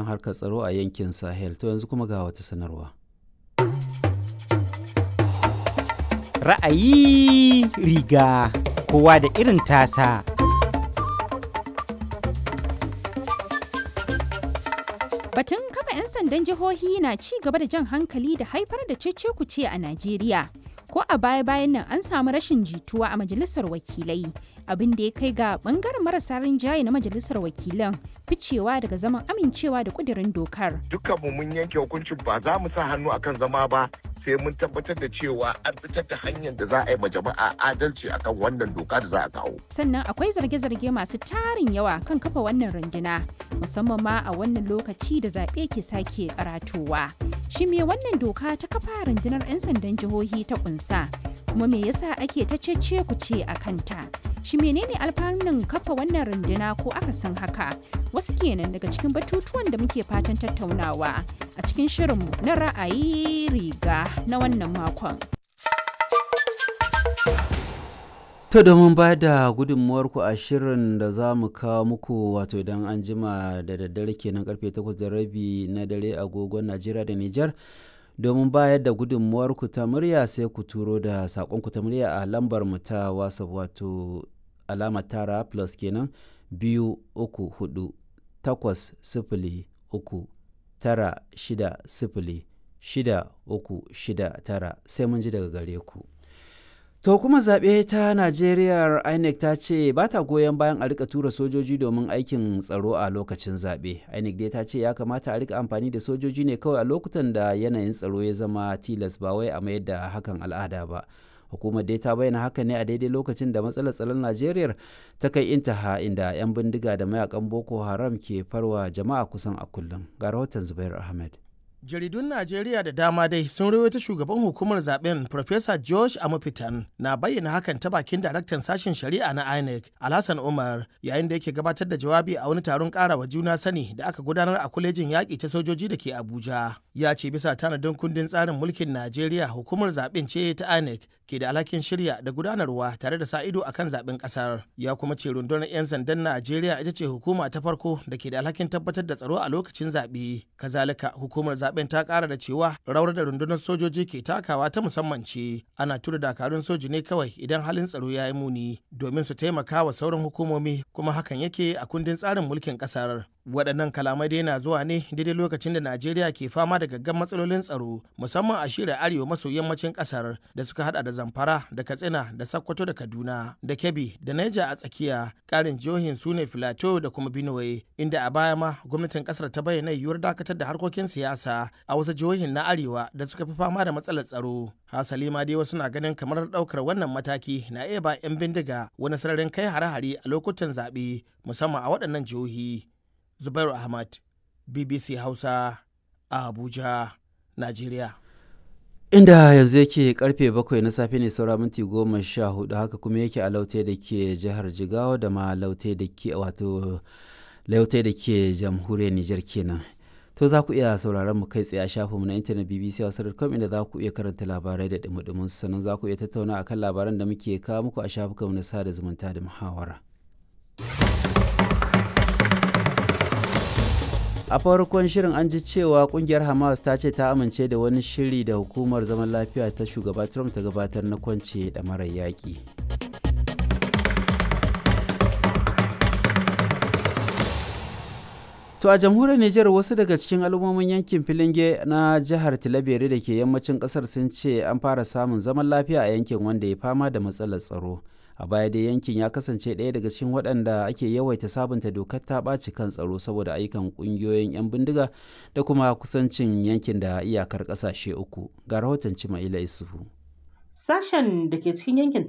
harkar tsaro a yankin Sahel. To yanzu kuma ga wata sanarwa. Ra'ayi riga kowa da irin tasa. Batun kafa 'yan sandan jihohi na ci gaba da jan hankali da haifar da cece-kuce a Najeriya. Ko a baya-bayan nan an samu rashin jituwa a majalisar wakilai, abin da ya kai ga bangaren marasa rinjaye na majalisar wakilan ficewa daga zaman amincewa da kudirin dokar. Dukkanmu mun yanke hukuncin ba za mu sa hannu akan zama ba sai mun tabbatar da cewa an fitar da hanyar da za a yi ma jama'a adalci akan wannan doka da za a kawo. Sannan akwai zarge-zarge masu tarin yawa kan kafa wannan runduna, musamman ma a wannan lokaci da zaɓe ke sake karatowa. Shi me wannan doka ta kafa rundunar 'yan sandan jihohi ta kunsa, kuma me yasa ake ta cece ku ce a kanta? Shi menene alfanun kafa wannan runduna ko aka san haka? Wasu kenan daga cikin batutuwan da muke fatan tattaunawa a cikin shirinmu na ra'ayi riga na wannan makon. To domin ba da gudunmuwarku a shirin da za mu kawo muku wato idan an jima da daddare kenan karfe 8:30 na dare agogon Najeriya da Nijar. Domin bayar da gudunmuwarku ta murya sai ku turo da saƙonku ta murya a lambar mu ta WhatsApp wato alama tara plus kenan 234 8 0 3 9 6 0 6 3 6 9 sai mun ji daga gare ku. To kuma zaɓe ta Najeriya INEC ta ce ba ta goyon bayan a rika tura sojoji domin aikin tsaro a lokacin zaɓe. INEC dai ta ce ya kamata a rika amfani da sojoji ne kawai a lokutan da yanayin tsaro ya zama tilas ba wai a mayar da hakan al'ada ba. Hukumar dai ta bayyana haka ne a daidai lokacin da matsalar tsaron Najeriya ta kai intaha inda 'yan bindiga da mayakan Boko Haram ke farwa jama'a kusan a kullum. Ga rahoton Zubair Ahmed. Jaridun Najeriya da dama dai sun rawaito shugaban hukumar zaben Professor George Amupitan na bayyana hakan ta bakin daraktan sashen shari'a na INEC Alhassan Umar yayin da yake gabatar da jawabi a wani taron karawa juna sani da aka gudanar a kwalejin yaƙi ta sojoji da ke Abuja. Ya ce bisa tanadin kundin tsarin mulkin Najeriya hukumar zaben ce ta INEC ke da alhakin shirya da gudanarwa tare da sa ido akan zaben kasar. Ya kuma ce rundunar 'yan sandan Najeriya ita ce hukuma ta farko da ke da alhakin tabbatar da tsaro a lokacin zaɓe. Kazalika hukumar zaben ta kara da cewa rawar da rundunar sojoji ke takawa ta musamman ce ana tura dakarun soji ne kawai idan halin tsaro ya yi muni domin su taimaka wa sauran hukumomi kuma hakan yake a kundin tsarin mulkin kasar. Waɗannan kalamai dai na zuwa ne daidai lokacin da Najeriya ke fama da gaggan matsalolin tsaro musamman a shirin arewa maso yammacin ƙasar da suka hada da Zamfara da Katsina da Sokoto da Kaduna da Kebbi da Niger a tsakiya. Ƙarin jihohin su ne Filato da kuma Benue, inda a baya ma gwamnatin ƙasar ta bayyana yiwuwar dakatar da harkokin siyasa a wasu jihohin na arewa da suka fi fama da matsalar tsaro. Hasali ma dai wasu na ganin kamar ɗaukar wannan mataki na iya ba 'yan bindiga wani sararin kai hare-hare a lokutan zaɓe musamman a waɗannan jihohi. Zubairu Ahmad, BBC Hausa, a Abuja, Najeriya. Inda yanzu yake karfe 7 na safe ne saura minti 14, haka kuma yake a Laute da ke jihar Jigawa da ma Laute da ke wato Laute da ke jamhuriyar Nijar kenan. To za ku iya sauraron mu kai tsaye a shafinmu na intanet bbc.com inda za ku iya karanta labarai da dumudumin su, sannan za ku iya tattauna akan labaran da muke kawo muku a shafukanmu na sada zumunta da muhawara. A farkon shirin an ji cewa kungiyar Hamas ta ce ta amince da wani shiri da hukumar zaman lafiya ta shugaba Trump ta gabatar na kwance da marar yaƙi. To a jamhuriyar Nijar wasu daga cikin al'ummomin yankin Filinge na jihar Tilaberi da ke yammacin kasar sun ce an fara samun zaman lafiya a yankin wanda ya fama da matsalar tsaro. A baya dai yankin ya kasance ɗaya daga cikin waɗanda ake yawaita sabunta dokar ta ɓaci kan tsaro saboda ayyukan ƙungiyoyin 'yan bindiga da kuma kusancin yankin da iyakar ƙasashe uku. Ga rahoton Cimaila Isufu. Sashen da ke cikin yankin